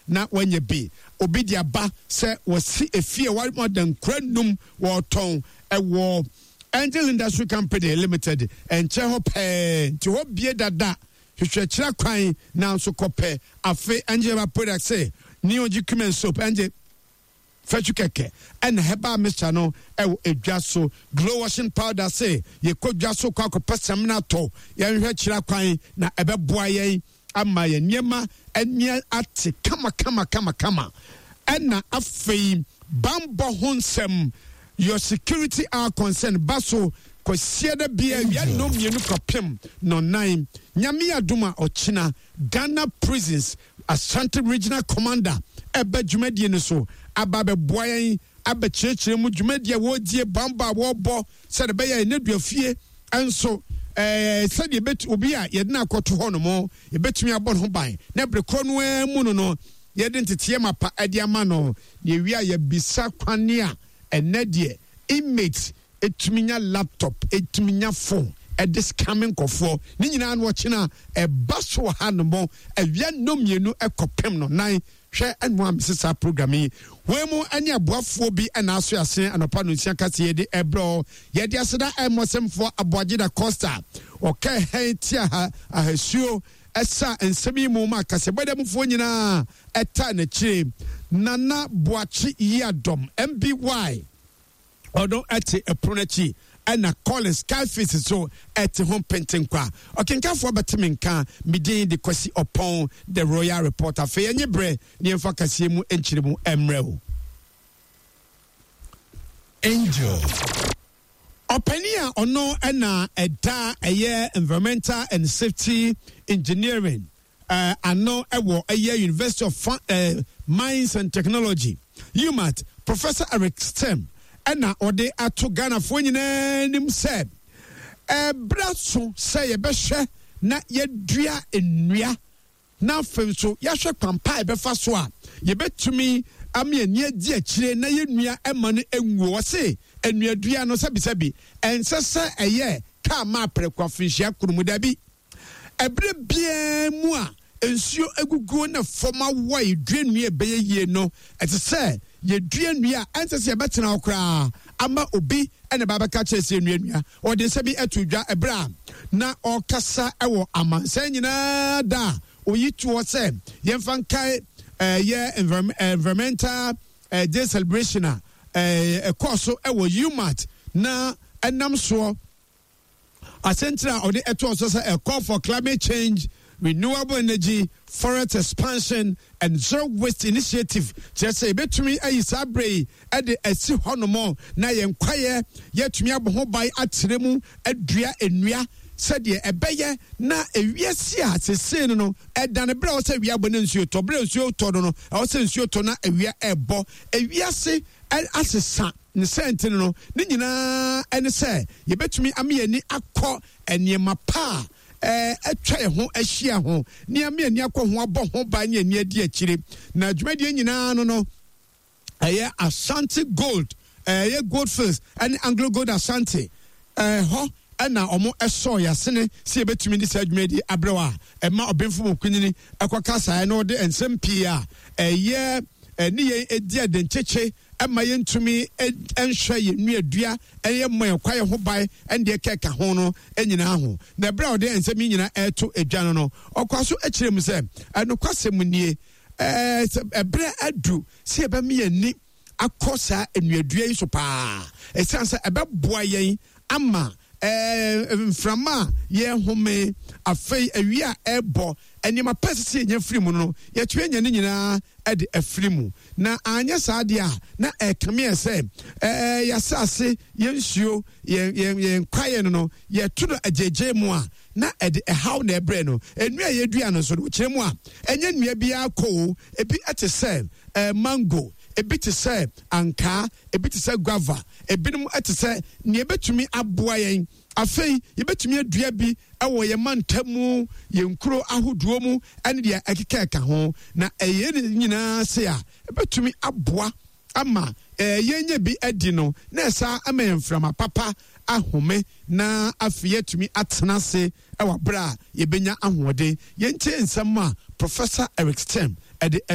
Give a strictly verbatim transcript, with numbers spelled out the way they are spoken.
Na wanya bi. Obi de aba sɛ wɔsi efie a wɔn adankura num wɔtɔn ɛwɔ Angel Industry Company Limited nkyɛn hɔ pɛɛ, nti hɔ bie dada. Hwehwɛ kyerɛ kwan nanso kɔpɛ. Afe Angel Herbal Product sɛ Neogye Cumin Soap, Angel fɛtwi kɛkɛ ɛna herbal mixture no ɛwɔ edwa so. Glow washing powder sɛ yɛkɔ dwa so kɔ akɔpɛ samina tɔ, yɛnhwɛ kyerɛ kwan na ɛbɛboa yɛn ama yɛn nneɛma ani ate kama kama kama kama. Ɛna afei bambɔ ho nsɛm, Your Security Our Concern, ba so kɔsia da bia awia nnɔm mmienu kɔpem nɔnan. Nyame adom a, ɔkyena Ghana Prisons Ashanti Regional Commander ɛbɛ dwumadie no so aba abɛboa yɛn abɛkyerɛkyerɛ mu dwumadie a wɔredie, bambɔ a wɔrebɔ, sɛde ɛbɛyɛ ɛnɛ duafie nso ɛɛ sɛdeɛ ɛbɛtu obi a yɛde no akɔto hɔ nom, yɛbɛtumi abɔ ne ho ban na bere korɔ no ara mu no no yɛde nteteɛ mapa ɛde ama no. Na ewie a, yɛbisa kwane a ɛnɛ deɛ inmates etumi nya laptop, etumi nya phone ɛde scamming nkɔfoɔ ne nyinaa no. Ɔkyena ɛba so wɔ ha nom awia nnɔm mmienu ɛkɔpem no nan. Hwɛ, ɛno a mese saa program yi wei mu ɛne aboafoɔ bi ɛna aso ase anɔpa no nsia kase yɛde ɛbrɛ. Yɛde aseda ɛmmɔsɛmfoɔ Aboagye da Costa ɔka hɛn tia ha ahasuo ɛsa nsɛm yi mu ma kasɛbɔdɛmufoɔ nyinaa ɛta n'akyire. Nana Boakye Yiadɔm M B Y, ɔno ɛte ɛpono n'akyi, ɛna Collins Skyface so ɛte ho mpentenkwa. Ɔkenkafoɔ bɛte me nka, me din de Kwasi Ɔpɔn, The Royal Reporter. Afei ɛnye berɛ ne yɛmfa kaseɛ mu nkyerɛ mu mmerɛ o. Angel. Ɔpanin a ɔno ɛna ɛda ɛyɛ Environmental and Safety Engineering uh, ano ɛwɔ ɛyɛ University of uh, Mines and Technology, UMaT, Professor Eric Stem, ɛna ɔde ato Ghanafoɔ nyinaa anim sɛ ɛbrɛ so sɛ yɛbɛhwɛ na yɛdua nnua, na afei nso yɛahwɛ kwampa a yɛbɛfa so a yɛbɛtumi ama yɛn adi akyire na yɛnnua ɛma no nwuo. Ɔse nnuadua no, sɛbisɛbi, ɛnsɛ sɛ ɛyɛ kaa ma aprɛko afinhyia koro mu. Dabi, ɛberɛ biara mu a nsuo aguguo na fam awɔ a yɛdua nnua ɛbɛyɛ yie no, ɛte sɛ yɛdua nnua a ɛnsɛ sɛ yɛbɛtena hɔ koraa ama obi ɛna ba bɛka kyerɛ sɛ nnua nnua. Ɔde nsa bi ato dwa ɛberɛ a na ɔrekasa ɛwɔ amansan nyinaa da a oyi toɔ sɛ yɛmfa nkae ɛyɛ Environmental Day celebration a ɛkɔɔ so ɛwɔ UMaT, na ɛnam soɔ asɛntire a ɔde ɛtoɔ so sɛ "A call for climate change, renewable energy, forest expansion and zero waste initiative", kyerɛ sɛ yɛbɛtumi ayi saa berɛ yi ɛde asi hɔnom na yɛn kwaeɛ yɛatumi abɔ ho ban, akyerɛ mu adua nnua sɛdeɛ ɛbɛyɛ na ewiase a sesei no no ɛdane berɛ a ɛwɔ sɛ awia bɔ ne nsuo tɔ, berɛ nsuo tɔ no no ɛwɔ sɛ nsuo tɔ na awia ɛbɔ. Ewiase asesa ne sɛnti no no ne nyinaa ɛne sɛ yɛbɛtumi ama yɛn ani akɔ nneɛma pa a atwa yɛn ho ahyia ho ne ama yɛn ani akɔ ho abɔ ho ban ne ani adi akyire. Na dwumadie nyinaa no no ɛyɛ Ashanti Gold, ɛyɛ Goldfields ɛne Anglo Gold Ashanti ɛhɔ ɛna ɔmo ɛsɔ yasene sɛ yɛbɛtumi de saa dwumadie abrɛw a ɛma ɔbɛnfo mu kunyini ɛkɔka saa ɛna ɔde nsɛm pii a ɛyɛ ɛne yɛn edi adenkyekye ɛma yɛntumi nhwɛ yɛn nnuadua, ɛyɛ mmɔ yɛn kwaeɛ ho ban, ɛne deɛ kɛka ho no nyinaa ho. Na ɛberɛ a ɔde nsɛm yi nyinaa ɛreto edwa no no ɔkɔ so akyerɛ mu sɛ ɛnokwasɛm nie, ɛɛ sɛ ɛberɛ adu sɛ yɛbɛma yɛn ani akɔ saa nnuadua yi so paa, ɛsiane sɛ ɛbɛboa yɛn ama ɛɛ mframa a yɛhome, afei awia a ɛrebɔ, nneɛma pɛ sisi yɛnya firi mu no, yɛtumi anya ne nyinaa ɛde afiri mu. Na anyɛ saa deɛ a, na ɛkame yɛ sɛ ɛɛ yɛasase, yɛn nsuo, yɛn yɛn yɛn kwaeɛ no no yɛto no agyegye mu a, na ɛde ɛhaw na ɛbrɛ no. Nnua a yɛdua no nso no, kyerɛ mu a, ɛnyɛ nnua biara kɔ o. Ebi ɛte sɛ ɛɛ mango, ebi te sɛ ankaa, ebi te sɛ guava, ebinom ɛte sɛ nea ebɛtumi aboa yɛn. Afei yɛbɛtumi adua bi ɛwɔ yɛn mantam mu, yɛn nkuro ahodoɔ mu, ɛne deɛ ɛkeka ɛka ho. Na ɛyɛ ne nyinaa se a ɛbɛtumi aboa ama ɛɛ yɛnyɛ bi adi no, na ɛsa ama yɛn mframa papa ahome, na afei yɛatumi atena ase ɛwɔ abere a yɛbɛnya ahoɔden. Yɛntie nsɛm a Professor Eric Stem ɛde ɛto